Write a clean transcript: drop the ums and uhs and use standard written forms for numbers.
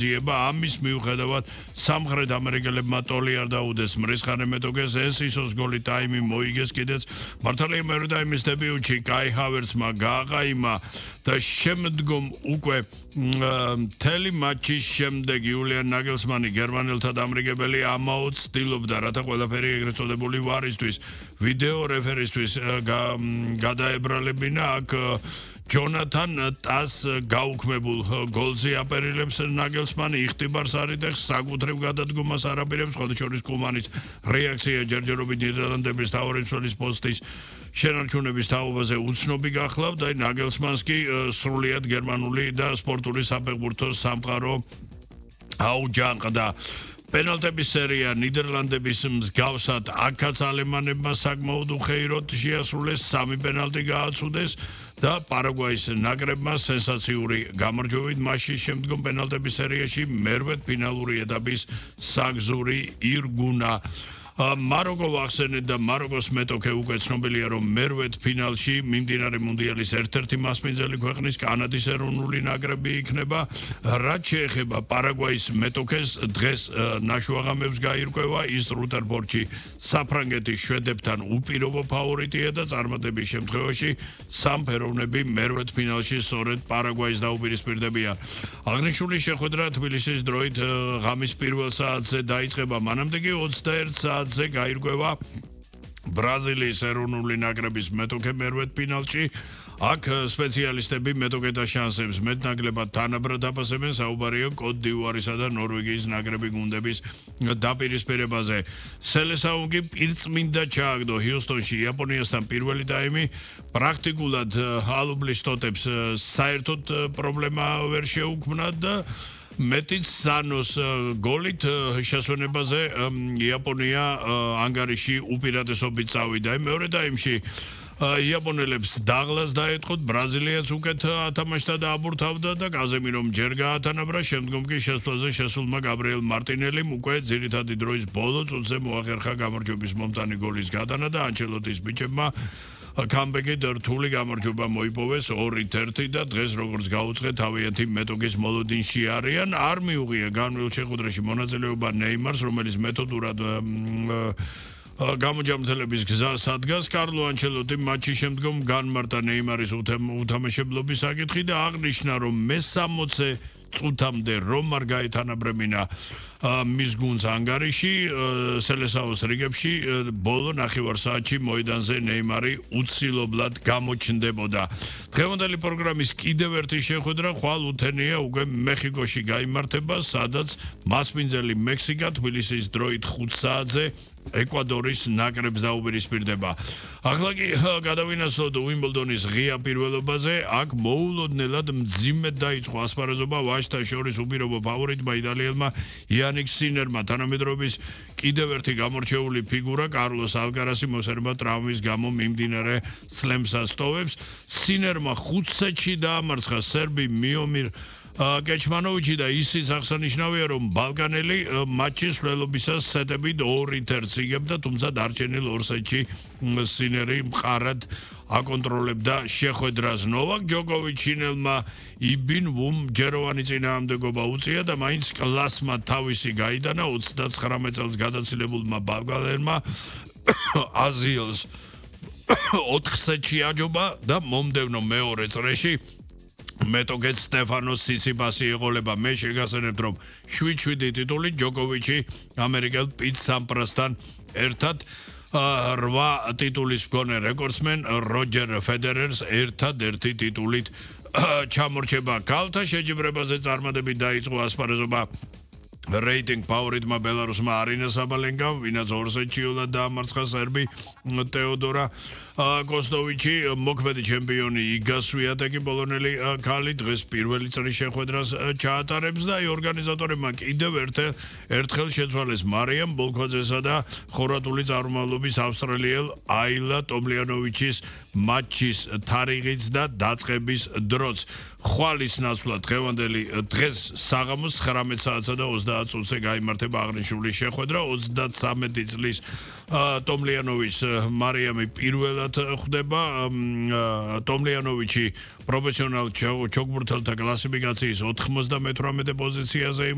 ამის მიუხედავად სამხრეთ ამერიკელებმა ტოლი არ დაუდეს მრისხანე მეტოქეს ეს ისოს გოლი ტაიმი მოიგეს კიდეც მართალია მეორე ტაიმის დებიუტში კაი ჰავერცმა გააყაიმა და შემდგომ უკვე მთელი მატჩის შემდეგ იულიან ნაგელსმანი გერმანელთა დამრიგებელი ამაოდ ცდილობდა რათა ყველაფერი ეგრეთ წოდებული ვარისთვის ვიდეო რეფერისთვის გადაებრალებინა აქ ჯონათან ტას გაუქმებულ გოლზე აპერილებს ნაგელსმანი იხტიბარს არიდებს საკუთრივ გადადგომას არაპირებს ხოდშორის კუმანის რეაქცია ჯერჯერობით ნიდერლანდების თავმჯდომარის პოსტის შენარჩუნების თაობაზე უცნობი გახლავთ და ნაგელსმანს კი სრულიად გერმანული და სპორტული საფეხბურთო სამყარო აუჯანყდა პენალტების სერია ნიდერლანდების მსგავსად აქაც ალემანებმა საკმაოდ უხეიროდ შეასრულეს 3 პენალტი გააცუდეს და პარაგვაის ნაკრებმა სენსაციური გამარჯვებით მასში შემდგომ პენალტების სერიაში მერვედ ფინალური ეტაპის საგზური ირგუნა მაროკო ვახსენეთ და მაროკოს მეტოქე უკვე ცნობილია რომ მერვედ ფინალში მიმდინარე მუნდიალის ერთ-ერთი მასპინძელი ქვეყნის კანადის ეროვნული ნაკრები იქნება რაც შეეხება პარაგვაის მეტოქეს დღეს ნაშუაღამებს გაირკვევა ის რუტერფორდში საფრანგეთის შვედებთან უპირობო ფავორიტია და წარმატების შემთხვევაში სამფეროვნები მერვედ ფინალში სწორედ პარაგვაის დაუპირისპირდებიან აღნიშნული შეხვედრა თბილისის დროით ღამის პირველ საათზე დაიწყება მანამდე კი 21 საათზე გაირკვევა ბრაზილიის ეროვნული ნაკრების მეტოქე მერვედ ფინალში აქ სპეციალისტები მეტოქეთა შანსებს მეტნაკლებად თანაბრად აფასებენ საუბარია კოტ დივუარისა და ნორვეგიის ნაკრები გუნდების დაპირისპირებაზე სელესაუ კი პირწმინდა ჩააგდო ჰიუსტონში იაპონიასთან პირველი ტაიმი პრაქტიკულად ალუბლის ტოტებს საერთოდ პრობლემა ვერ შეუქმნა და მეტიც სანოს გოლით შესვენებაზე იაპონია ანგარიში უპირატესობით წავიდა მეორე ტაიმში იაპონელებს დაღლას დაეთყოთ ბრაზილიაც უკეთ ათამაშდა და აბურთავდა და კაზემირომ ჯერ გაათანაბრა შემდგომ კი შესვლაზე შესულმა გაბრიელ მარტინელიმ უკვე ძირითადი დროის ბოლო წუთზე მოახერხა გამარჯვების მომტანი გოლის გატანა და ანჩელოტის ბიჭებმა კამბეკი რთული გამარჯვება მოიპოვეს 2-1 და დღეს როგორც გაუწყეთ თავიანთი მეტოქის მოლოდინში არიან არ მიუღია განვლილ შეხვედრაში მონაწილეობა ნეიმარს რომელიც მეთოდურად გამოჯამრთელების გზას ადგას კარლო ანჩელოტი მატჩის შემდგომ განმარტა ნეიმარის უთამაშებლობის საკითხი და აღნიშნა რომ მე-60 წუთამდე რომ არ გაეთანაბრებინა მის გუნდს ანგარიში სელესაუს რიგებში ბოლო ნახევარსაათში მოედანზე ნეიმარი უცილობლად გამოჩნდებოდა დღევანდელი პროგრამის კიდევ ერთი შეხვედრა ხვალ უთენია უკვე მეხიკოში გაიმართება სადაც მასპინძელი მექსიკა თბილისის დროით 5 საათზე ეკვადორის ნაკრებს დაუპირისპირდება. ახლა კი გადავინაცვლოთ უიმბლდონის ღია პირველობაზე, აქ მოულოდნელად მძიმედ დაიწყო ასპარეზობა ვაჟთა შორის უპირობო ფავორიტმა იტალიელმა იანიკ სინერმა თანამედროვეობის კიდევ ერთი გამორჩეული ფიგურა კარლოს ალკარასი მოსერება ტრავმის გამო მიმდინარე სლემს ასტოვებს. სინერმა 5 სეტში დაამარცხა სერბი მიომირ კეჩმანოვიჩი და ისიც აღსანიშნავია რომ ბალკანელი მატჩის ველობისას სეტებით 2-1 იგებდა თუმცა დარჩენილ 2 სეტში სინერი მყარად აკონტროლებდა შეხვედრას ნოვაკ ჯოკოვიჩინელმა იბინ ვუმ ჯეროვანი წინააღმდეგობა უწია და მაინც კლასმა თავისი გაიტანა 39 წელს გადაცილებულმა ბალკანელმა აზიელს 4 სეტში აჯობა და მომდევნო მეორე წრეში მეტოქეთ სტეფანოს სიციპასი ეყოლება მე შეგასწრებთ რომ 7-7 ტიტული ჯოკოვიჩი ამერიკელ პიტ სამპრასთან ერთად 8 ტიტულის მქონე რეკორდსმენ როჯერ ფედერერს ერთადერთი ტიტულით ჩამორჩება ქალთა შეჯიბრებაზე წარმატებით დაიწყო ასპარეზობა რეიტინგ ფავორიტმა ბელარუსმა არინა საბალენკამ ვინაც 2 სეტში ულად დაამარცხა სერბი თეოდორა კოსტოვიჩი მოქმედი ჩემპიონი იგა სვიატეკი პოლონელი ქალი დღეს პირველი წრის შეხვედრას ჩაატარებს და ორგანიზატორებმა კიდევ ერთხელ შეცვალეს მარიამ ბოლქვაძესა და ხორვატული წარმომავლობის ავსტრალიელ აილა ტომლიანოვიჩის მატჩის თარიღიც და დაწყების დროც ხვალის ნაცვლად დღევანდელი დღეს საღამოს 19 საათსა და 30 წუთზე გაიმართება აღნიშნული შეხვედრა 33 წლის ტომლიანოვის მარიამი პირველად ერთად ხვდება ტომლიანოვიჩი პროფესიონალ ჩოგბურთელთა კლასიფიკაციის 98 პოზიციაზე